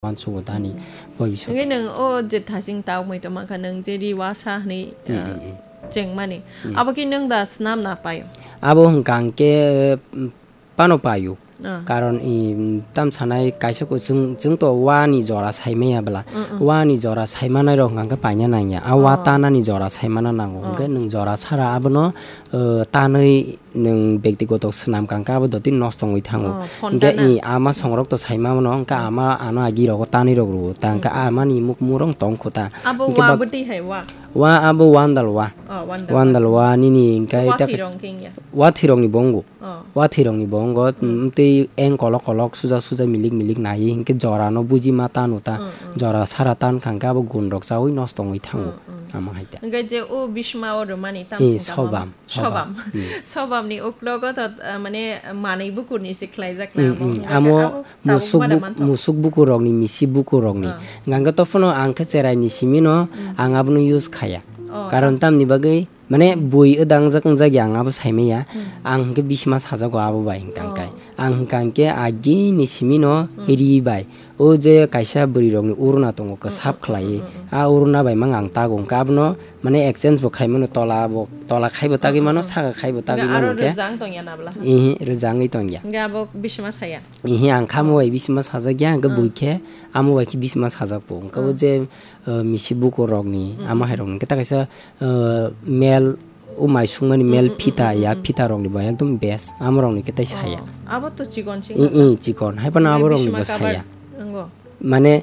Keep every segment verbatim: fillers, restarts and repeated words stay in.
uansukgo tani. Boi bising. Hingke nwng o je thasing tau mui tongma kha, nwng je ri wasa hwnwi, Mm, ah, mm, mm. chengmani. Mm. Abo khe nwng da snam na pai? Abo hwnkha hwnkhe, mm, pano paio. Ah. Karon i, mm, tam sanai kaisa ko chwng, chwng to wani jora saimaya bwla. Mm, mm. Wani jora saimanai rok hwnkha hwnkhe paina nangya. A wa Oh. tanani jora saimana nango. Oh. Hwnkhe nwng jora sara abono, uh, tanwi nwng bektigoto swnam kangkhe abo dotino nosto wngwi thango. Oh, phone Hwnkhe tana. i ama songrok to saima mano, hwnkhe Oh. ama ano agi rogo tanwi rok rwo. Ta hwnkhe Mm. amani muk murong tong kho ta. Abo Hwnkhe wa bak- bwtwi hai wa? Wa abo wandal wa. Oh, wandal Wandal wa. wa nini hwnkhe Wa ta thwirong khe wngya? Wa thwirongni bongo. Oh. Wa thwirongni bo wngkha, Mm. mm, tei eng kolok kolok, suja suja, milik milik naiwi, hinkhe jora no buji ma tano ta, Mm, mm. jora sara tan kha, hinkhe abo gun rok chaui nosto wngwi thango, Mm, mm. amo hai ta. Hinkhe je o bisma o rwmani tam Eh, singkha sobam, mo? sobam. Sobam. Mm. Sobam ni uklogo to, ah, mane manwi bukur ni se khlaijak na Mm, amo. mm. Hinkhe Amo abo tabuk musuk mana buk-, manthok. musuk bukur rok ni, misi bukur rok ni. Ah. Hinkhe to phano ang khe cherai ni simi no, Mm. ang abono use khaya. Oh, Karon ah. tamni bagwi Mane bui wdangjak wngjak ya ang abo saimaya. Hmm. Ang hwnkhe bisima sajago abo bai hwnkha Oh. hwnkhe. Ang hwnkha hwnkhe agini simino Hmm. ri bai. O je kaisa bwrwi rokni uruna tongo Hmm, kwsap hmm, khlaiwi. hmm, hmm, hmm. A uruna bai mang ang tago hwnkhe abono mane exchange bo khaimano tola bo, tola khaibo tagwi Hmm, mano, hmm, hmm. saka khaibo tagwi Hwnkhe mano aro hwnkhe. rwjang tongya na bwla? Ihi, rwjangwi tongya. Hwnkhe abo bisima saya? Ihi, ang khamo bai bisima sajak ya, hwnkhe Hmm. bui khe amo bai khe bisima sajak bo. Hwnkhe o Hmm. je, uh, misi bukur rokni, Hmm. amo hai rokni hwnkhe ta kaisa uh, mel, o mai sungmani mel Mm, mm, phita mm, ya, mm, mm. phita rokni bo ekdom best, amo rokni khe tai saya. Oh, abo to chikon sing I, na? I, chikon, hai phano Hwnwi abo rokni bisima bo cover saya. Wngo? Mane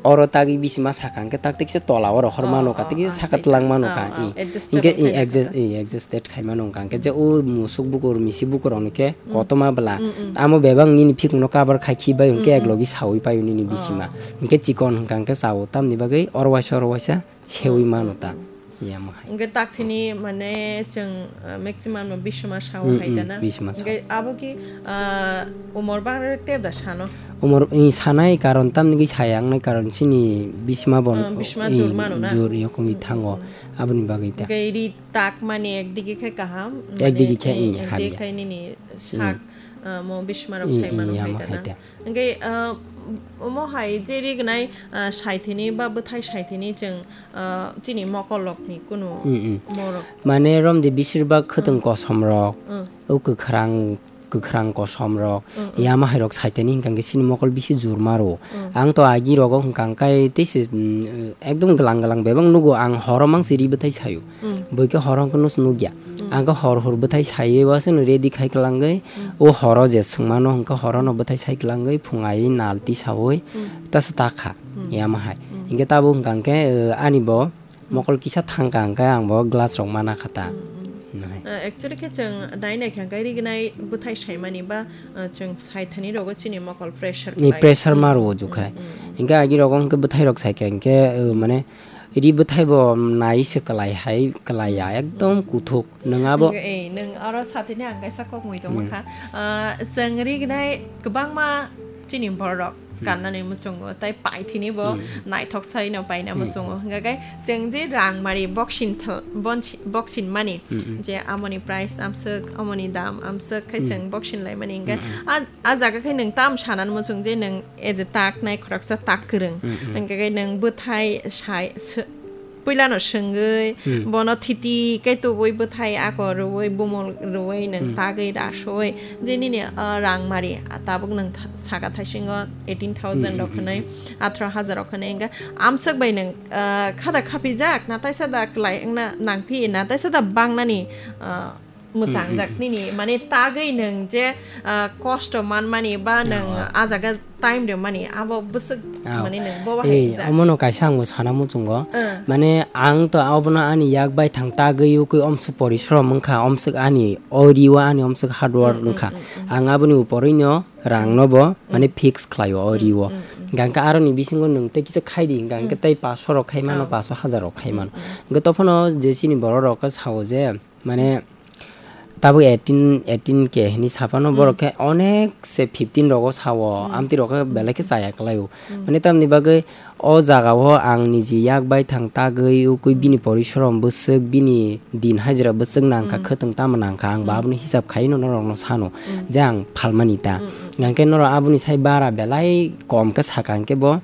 oro tagwi bisima saka hwnkhe tak tikse tola oro hor Oh, mano ka, oh, tikse ah, saka tei tlang ka. mano ka, Ah, ah, i. adjustable Hwnkhe i khai na adjust, kha. i, adjusted khai mano wngkha. Hwnkhe je o musuk bukur, misi bukur rokni khe Mm. kotorma bwla. Mm, mm. Amo bebak nini phikung no cover khai khi bai hwnkhe Mm, mm. eklogi saui paio nini Oh. bisima. Hwnkhe chikon hwnkha hwnkhe chao tamni bagwi oro waisa oro waisa seui Mm, mano mm, ta. mm. Yamo hai. Hwnkhe takthini mane chwng, uh, maximum no bisima sao Mm, hai mm, ta na? bisima sao. Hwnkhe abo ki, uh, umor bang rwk tei da sano? Umor, i, sanai karon tamni ki saya wngnai karon chini bisima bon, Uh, bisima i, jur mano na? jur yokongwi Mm, thango. mm, mm. Aboni bagwi ta. Hwnkhe ri tak mani ekdigi khe kaham, Ekdigi mane, khe, i, i, hamya. ekdigi khe nini sak, Mm. uh, mo bisima rok I, sai i, mano yamo hai ta hai na? ta. Hwnkhe, ah, omo hai je rignai, ah, saithini ba bwthai saithini chwng, ah, chini mokolrokni kunu Mm, mm. morok. Mane romdi bisir bak khwtwng Mm. kosom rok, Mm. o kwkhrang, kwkhrang kosom rok, Mm, mm. yama hai rok saithini hwnkha hwnkhe chini mokol bisi jurma rwo. Mm. Ang to agi rogo hwnkha hwnkhe tei se, mm, ekdom glang glang bebak nugo ang horo mangsi ri bwthai sayo. Mm. Bwkhe horo hwnkhe nusu nukya. Mm. Ang khe hor hor bwthai saiwi wasano ready khai kwlangwi, Mm. o horo je swngmano hwnkhe horono bwthai sai kwlangwi phung aiwi nal tisaui Mm. tasa ta kha. Mm. Yama hai. Mm. Hinkhe tabuk hwnkha hwnkhe, uh, ani bo Mm. mokol kisa thangkha hwnkhe ang bo glass rok mana kha ta. Mm, mm. Nai. Uh, actually khe chwng nai nai kha hwnkhe rignai bwthai saimani ba, uh, chwng saithani rogo chini mokol pressure Ni khlai. pressure Mm. ma rwo jukhai. Mm, mm, mm. Hinkhe agi rogo hwnkhe bwthai rok saikha hwnkhe, uh, mane Ri bwthai bo nai se kwlai hai, kwlai ya, ekdom kuthuk. Nwng abo Nwng, eh, nwng oro sathini ang kaisa kok mui tongma Hmm. kha. Ah, chwng rignai kwbangma chini borok Hmm. kannani muchungo, tai paithini bo Hmm. naithok sai no paina Hmm. muchungo. Hwnkha khe chwng je rang mari boxing thal-, bonsi-, boxing mani, Hmm, hmm. je amoni price amswk, amoni dam amswk khe Hmm. chwng boxing lai mani hwnkhe Hmm, hmm. a, a jaga khe nwng tam sanani muchung je nwng E je tak nai khoroksa tak kwrwng. Mm, mm. Hwnkhe khe nwng bwthai sai, sw-, puilano swngwi, Mm. bono thiti khe tubui bwthai ako rwui, bumul rwui, nwng Mm. tagwi rasui, je nini, ah, rang mari, ah, tabuk nwng tha-, saka thaisingo eighteen thousand Mm, rok mm, hwnwi, mm. atharo hazar rok hwnwi, hwnkhe amswk bai nwng, ah, khada khapijak, na taisa da kwlai wngna nangphi, na taisa da bangnani, ah, mwchangjak Hmm, hmm, hmm. nini, mane tagwi nwng je, ah, kosto manmani ba nwng Awa. ah jaga time rwmani, abo bwswk Aw. mane nwng bo bahai Eh, wngjak. Omono kaisa ang bo sana muchungo. Eh. Mane ang to abono ani yak bai thang tagwi ukui omswk porishrom wngkha, omswk ani o riwo ani omswk hard work Hmm, hmm, wngkha. hmm, hmm. Ang aboni uporwino rangno bo mane Hmm. fix khlaio o Hmm, riwo. hmm, hmm. Gangkha aroni bisingo nwng tei kisa khaidi, gangkha Hmm. tei paso rok khaimano, Oh. paso hazar rok khaimano. Hmm, hmm. Hwnkhe tophano je chini borok rok khe sao je, mane, tabuk eighteen, eighteen K hinwi saphano, borok khe onek se fifteen rogo sao, amtwi rok khe belai khe chaya kwlaio. Mane tamni bagwi o jaga o ang niji yak bai thang tagwi ukui bini porishorom bwswk, bini din hajira bwswk nangkha, khwtwng tamo nangkha, ang bo aboni hisab khaino norokno sano je ang phalmani ta. Hwnkhe norok aboni sai bara belai kom khe saka hwnkhe bo